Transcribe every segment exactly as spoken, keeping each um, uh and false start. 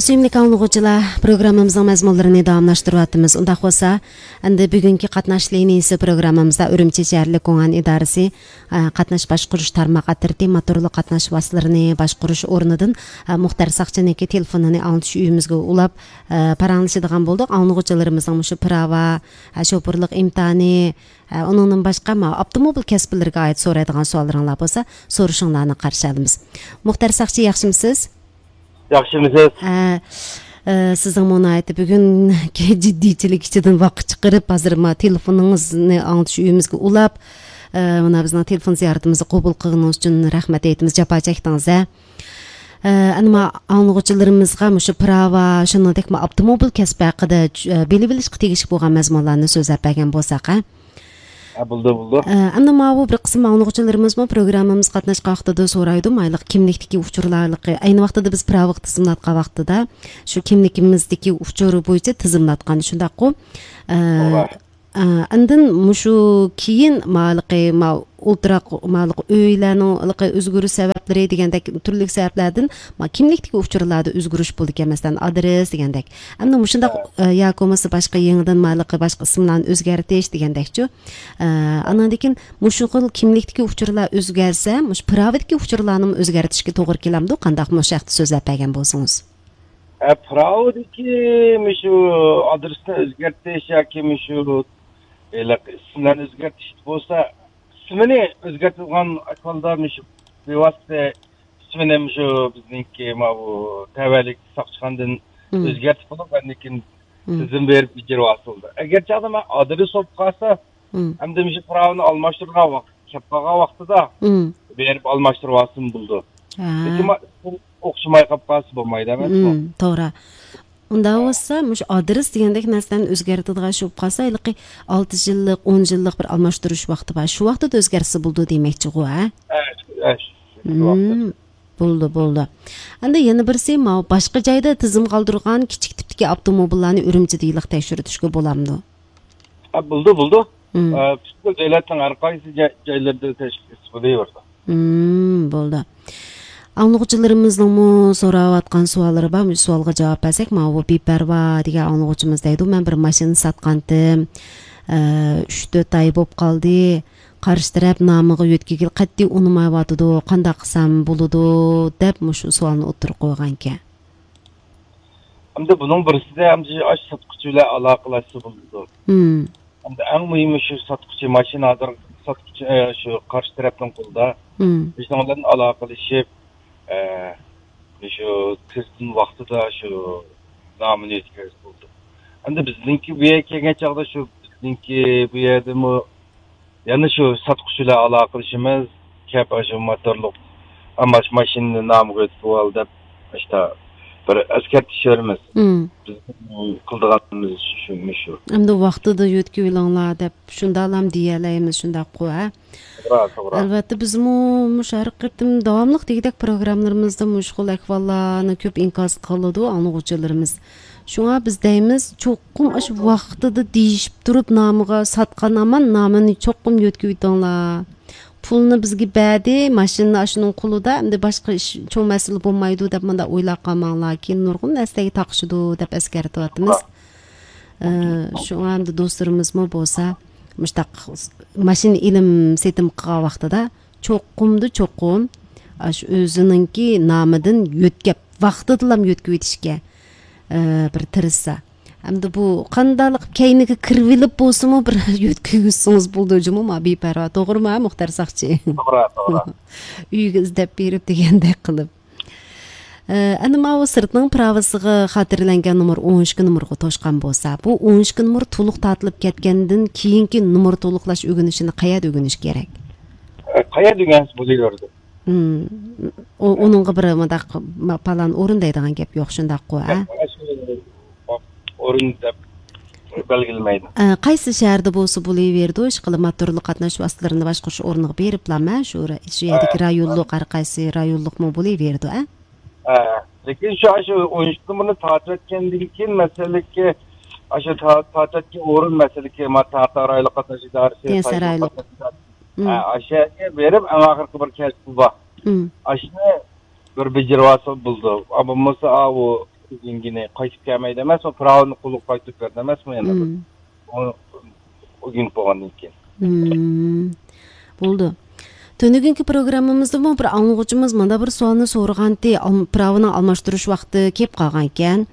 سۆيۈملۈك ئاڭلىغۇچىلار، پروگراممىمىزنىڭ مەزمۇنلىرىنى داۋاملاشتۇرۇۋاتىمىز. ئۇنداق بولسا، ئەمدى بۈگۈنكى قاتناش لىنىيىسى پروگراممىمىزدا ئۈرۈمچى شەھەرلىك گۇڭئەن ئىدارىسى، ئە، قاتناش باشقۇرۇش تارماق ئاترىتى موتورلۇق قاتناش ۋاسىتىلىرىنى باشقۇرۇش ئورنىدىن، ئە، مۇختەر ساقچىنىڭكى تېلېفونىنى ئاڭلىتىش ئۆيىمىزگە ئۇلاپ، ئە، پاراڭلىشىدىغان بولدۇق. ئاڭلىغۇچىلىرىمىزنىڭ مۇشۇ پىراۋا، ئە، شوپۇرلۇق ئىمتىھانى، ئە، ئۇنىڭدىن باشقا، ما، ئاپتوموبىل كەسىپلىرىگە ئائىت سورايدىغان سوئاللىرىڭلار بولسا، سورىشىڭلارنى قارشى ئالىمىز. مۇختەر ساقچى، ياخشىمۇسىز؟ ياخشىمۇسىز؟ ئە، ئە، سىزنىڭمۇ ناھايىتى بۈگۈنكى جىددىيچىلىك ئىچىدىن ۋاقىت چىقىرىپ، ھازىر ما تېلېفونىڭىزنى ئاڭلىتىش ئۆيىمىزگە ئۇلاپ، ئە، مانا بىزنىڭ تېلېفون زىيارىتىمىزنى قوبۇل قىلغىنىڭىز ئۈچۈن رەھمەت ئېيتىمىز، جاپا چەكتىڭىز ھە. ئە، ئەنە ما ئاڭلىغۇچىلىرىمىزغا مۇشۇ پىراۋا، شۇنىڭدەك ما ئاپتوموبىل كەسپى ھەققىدە، ئە، بىلىۋېلىشقا تېگىشلىك بولغان مەزمۇنلارنى سۆزلەپ بەرگەن بولساق ھە. ھە، بولدى، بولدى. ئە، ئەمدى ماۋۇ بىر قىسىم ئاڭلىغۇچىلىرىمىزمۇ پروگراممىمىز قاتناشقان ۋاقتىدا سورايدۇ، مايلىق كىملىكتىكى ئۇچۇرلارلىقى. ئەينى ۋاقتىدا بىز پىراۋىغا تىزىملاتقان ۋاقتىدا شۇ كىملىكىمىزدىكى ئۇچۇر بويىچە تىزىملاتقان، شۇنداققۇ؟ ئە، توغرا. ئە، ئاندىن مۇشۇ كېيىن مالىقى، ما-، ئولتۇراق، مالىقى ئۆيلەرنىڭ ھېلىقى ئۆزگىرىش سەۋەبلىرى دېگەندەك تۈرلۈك سەۋەبلەردىن ما-، كىملىكتىكى ئۇچۇرلاردا ئۆزگىرىش بولىدىكەن، مەسىلەن، ئادرېس دېگەندەك. ئەمدى مۇشۇنداق، ھە. ئە، ياكى بولمىسا باشقا يېڭىدىن مالىقى باشقا ئىسىملارنى ئۆزگەرتىش دېگەندەكچۇ. ئە، ئاناندىن كېيىن مۇشۇ خىل كىملىكتىكى ئۇچۇرلار ئۆزگەرسە، مۇشۇ پىراۋىدىكى ئۇچۇرلارنىمۇ ئۆزگەرتىشكە توغرا كېلەمدۇ؟ قانداق مۇشۇ ھەقتە سۆزلەپ بەرگەن بولسىڭىز. ئە، پىراۋىدىكى مۇشۇ ئادرېسنى ئۆزگەرتىش ياكى مۇشۇ ھېلىقى ئىسىملارنى ئۆزگەرتىش بولسا، ئىسمىنى ئۆزگەرتىدىغان ئەھۋالدا مۇشۇ بىۋاسىتە ئىسمىنى مۇشۇ بىزنىڭكى ماۋۇ تەۋەلىك ساقچىخانىدىن مم. ئۆزگەرتىپ بولۇپ، ئاندىن كېيىن مم. تىزىم بېرىپ بېجىرىۋالسا بولىدۇ. ئەگەر چاغدا مەن ئادرېس بولۇپ قالسا، مم. ئەمدى مۇشۇ پىراۋىنى ئالماشتۇرغان ۋاقىت، كەپ قالغان ۋاقتىدا مم. بېرىپ ئالماشتۇرۇۋالسىمۇ بولىدۇ. ھە. لېكىن ما-، ئوخشىماي قاپ قالسا بولمايدۇ ئەمەسمۇ؟ مم، توغرا. ئۇنداق بولسا، مۇشۇ ئادرېس دېگەندەك نەرسىلەرنى ئۆزگەرتىدىغان شۇ بولۇپ قالسا، ھېلىقى ئالتە يىللىق، ئون يىللىق بىر ئالماشتۇرۇش ۋاقتى بار. شۇ ۋاقتىدا ئۆزگەرتسە بولىدۇ دېمەكچىغۇ، ھە؟ ھە، شۇ، ھە، شۇ، شۇ ۋاقىتتا. مم، بولدى، بولدى. ئەمدى يەنە بىرسى، ماۋۇ باشقا جايدا تىزىم قالدۇرغان كىچىك تىپتىكى ئاپتوموبىللارنى ئۈرۈمچىدە ھېلىقى تەكشۈرتۈشكە بولامدۇ؟ ھە، بولىدۇ، بولىدۇ. مم. ئە، پۈتكۈل دۆلەتنىڭ ھەر قايسى جاي-، جايلىرىدا تەشكىل قىلسا بولۇۋېرىدۇ. مم، بولدى. ئاڭلىغۇچىلىرىمىزنىڭمۇ سوراۋاتقان سوئاللىرى بار، مۇشۇ سوئالغا جاۋاب بەرسەك، ماۋۇ بىپەرۋا دېگەن ئاڭلىغۇچىمىز دەيدۇ، مەن بىر ماشىنا ساتقانتىم، ئە، ئۈچ تۆت ئاي بولۇپ قالدى، قارشى تەرەپ نامىغا يۆتكىگىلى قەتئىي ئۇنىمايۋاتىدۇ، قانداق قىلسام بولىدۇ، دەپ مۇشۇ سوئالنى ئوتتۇرىغا قويغانىكەن. ئەمدى بۇنىڭ بىرسىدە ئەمدى ئاشۇ ساتقۇچى بىلەن ئالاقىلەشسە بولىدۇ. مم. ئەمدى ئەڭ مۇھىمى شۇ ساتقۇچى، ماشىنا ھازىر ساتقۇچى، ئە، شۇ قارشى تەرەپنىڭ قولىدا. مم. شۇنىڭ بىلەن ئالاقىلىشىپ، ئە، شۇ تىزىم ۋاقتىدا شۇ نامىنى يۆتكەپ بولدى. ئەمدى بىزنىڭكى بۇ يەرگە كەلگەن چاغدا شۇ بىزنىڭكى بۇ يەردىمۇ يەنە شۇ ساتقۇچى بىلەن ئالاقىلىشىمىز، كەپ ئاشۇ موتورلۇق ئەمما ماشىنىنى نامىغا ئۆتكۈزۈۋال دەپ، ئىشتا بىر ئەسكەرتىش بېرىمىز. مم. بىز قىلىدىغانىمىز شۇ، مۇشۇ. ئەمدى ۋاقتىدا يۆتكىۋېلىڭلار دەپ شۇنداقلام دېيەلەيمىز، شۇنداققۇ، ھە؟ توغرا، توغرا. ئەلۋەتتە، بىزمۇ مۇشۇ ھەر قېتىم داۋاملىق دېگۈدەك پروگراممىلىرىمىزدا مۇشۇ خىل ئەھۋاللارنى كۆپ ئىنكاس قىلىدۇ ئاڭلىغۇچىلىرىمىز. شۇڭا بىز دەيمىز، چوقۇم ئاشۇ ۋاقتىدا دېيىشىپ تۇرۇپ، نامىغا ساتقان ئامان، نامىنى چوقۇم يۆتكىۋېتىڭلار. پۇلنى بىزگە بەردى، ماشىنىنى ئاشۇنىڭ قولىدا، ئەمدى باشقا ئىش، چوڭ مەسىلە بولمايدۇ دەپ مۇنداق ئويلاپ قالماڭلار، كېيىن نۇرغۇن نەرسىلەرگە تاقىشىدۇ دەپ ئەسكەرتىۋاتىمىز. ئە، شۇڭا ئەمدى دوستلىرىمىزمۇ بولسا، مۇشتاق ماشىنا ئېلىم سېتىم قىلغان ۋاقتىدا چوقۇمدا چوقۇم ئاشۇ ئۆزىنىڭكى نامىدىن يۆتكەپ، ۋاقتىدىلا يۆتكىۋېتىشكە، ئە، بىر تىرىشسا. ئەمدى بۇ قانداقلىق كەينىگە كىرىۋېلىپ بولسىمۇ بىر يۆتكىگۈزسىڭىز بولىدۇ جۇمۇ، ما بىپەرۋا، توغرىمۇ، مۇختەر ساقچى؟ توغرا، توغرا. ئۆيگە ئىزدەپ بېرىپ دېگەندەك قىلىپ. ئە، ئەنە ماۋۇ سىرتنىڭ پىراۋىسىغا خاتىرىلەنگەن نومۇر ئون ئىككى نومۇرغا توشقان بولسا، بۇ ئون ئىككى نومۇر تولۇق تارتىلىپ كەتكەندىن كېيىنكى نومۇر تولۇقلاش ئۆگىنىشىنى قەيەردە ئۆگىنىش كېرەك؟ ئە، قەيەردە ئۆگەنسە بولۇۋېرىدۇ. مم. ئۇ، ئۇنىڭغا بىر مۇنداق ما-، پالان ئورۇن دەيدىغان گەپ يوق، شۇنداققۇ، ھە؟ ياق، ئاشۇ ئورۇن دەپ بەلگىلىمەيدۇ. ئە، قايسى شەھەردە بولسا بولۇۋېرىدۇ، ئىشقىلىپ موتورلۇق قاتناش ۋاسىتىلىرىنى باشقۇرۇش ئورنىغا بېرىپلا، مەن شۇ، شۇ يەردىكى ھە. رايونلۇق، ھەر قايسى رايونلۇقمۇ بولۇۋېرىدۇ، ھە؟ ھە. لېكىن شۇ، ئاشۇ ئون ئىككى نومۇرنى تارتىۋەتكەندىن كېيىن، مەسىلىكى، ئاشۇ تا-، تارتىۋەتكەن ئورۇن، مەسىلىكى، ما-، تا-، تا-، رايونلۇق قاتناش ئىدارىسى، دىيەن سارايلىق. قاتناش ئىدارىسى. مم. ھە، ئاشۇ يەرگە بېرىپ، ئەڭ ئاخىرقى بىر كەسپى بار. مم. ئاشۇنى بىر بېجىرىۋالسا بولىدۇ. ئا، بولمىسا، ئا، ئۇ كېيىنگىنى قايتىپ كەلمەيدۇ ئەمەسمۇ، پىراۋىنى قولىغا قايتۇرۇپ بەردى ئەمەسمۇ يەنە بىر. مم. ئۇ ئۆگىنىپ بولغاندىن كېيىن. مم. بولدى. تۈنۈگۈنكى پروگراممىمىزدىمۇ بىر ئاڭلىغۇچىمىز مۇنداق بىر سوئالنى سورىغانتى، ئالم-، پىراۋىنىڭ ئالماشتۇرۇش ۋاقتى كېلىپ قالغانىكەن.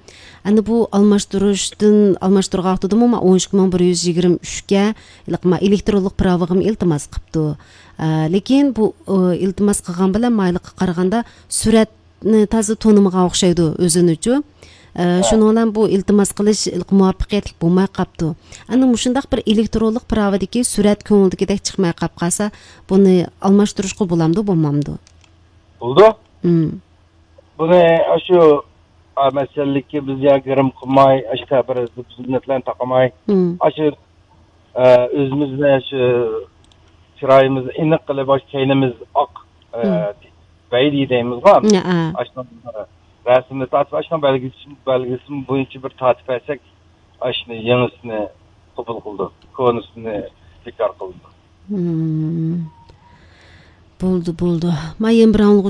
ئەنە بۇ ئالماشتۇرۇشتىن، ئالماشتۇرغان ۋاقتىدىمۇ مانا ئون ئىككى مىڭ بىر يۈز يىگىرمە ئۈچكە ھېلىقى ما ئېلېكترونلۇق پىراۋىغىمۇ ئىلتىماس قىپتۇ. ئە، لېكىن بۇ، ئە، ئىلتىماس قىلغان بىلەن مايلىققا قارىغاندا سۈرئەتنى تازا تونۇمىغان ئوخشايدۇ ئۆزىنىچۇ. ئە، ھە. شۇنىڭ بىلەن بۇ ئىلتىماس قىلىش مۇۋەپپەقىيەتلىك بولماي قاپتۇ. ئەنە مۇشۇنداق بىر ئېلېكترونلۇق پىراۋىدىكى سۈرئەت كۆڭۈلدىكىدەك چىقماي قاپ قالسا، بۇنى ئالماشتۇرۇشقا بولامدۇ، بولمامدۇ؟ بولىدۇ. مم. بۇنى ئاشۇ، ئا، مەسىلىكى بىز يا گىرىم قىلماي، ئاشۇ تەبىر بىز نەتلەرنى تاقىماي، مم. ئاشۇ، ئە، ئۆزىمىزنى شۇ چىرايىمىزنى ئېنىق قىلىپ، ئاشۇ كەينىمىز ئاق، ئە، مم. بەيلى دەيمىزغۇ. يا، ئا. ئاشۇنىڭ رەسىمنى تارتىپ، ئاشۇنىڭ بەلگىسى، بەلگىسى بويىچە بىر تارتىپ بەرسەك، ئاشۇنى يېڭىسىنى قوبۇل قىلىدۇ، كونىسىنى بىكار قىلىدۇ. مم. بولدى، بولدى. ما يەنە بىر ئاڭلىغۇچى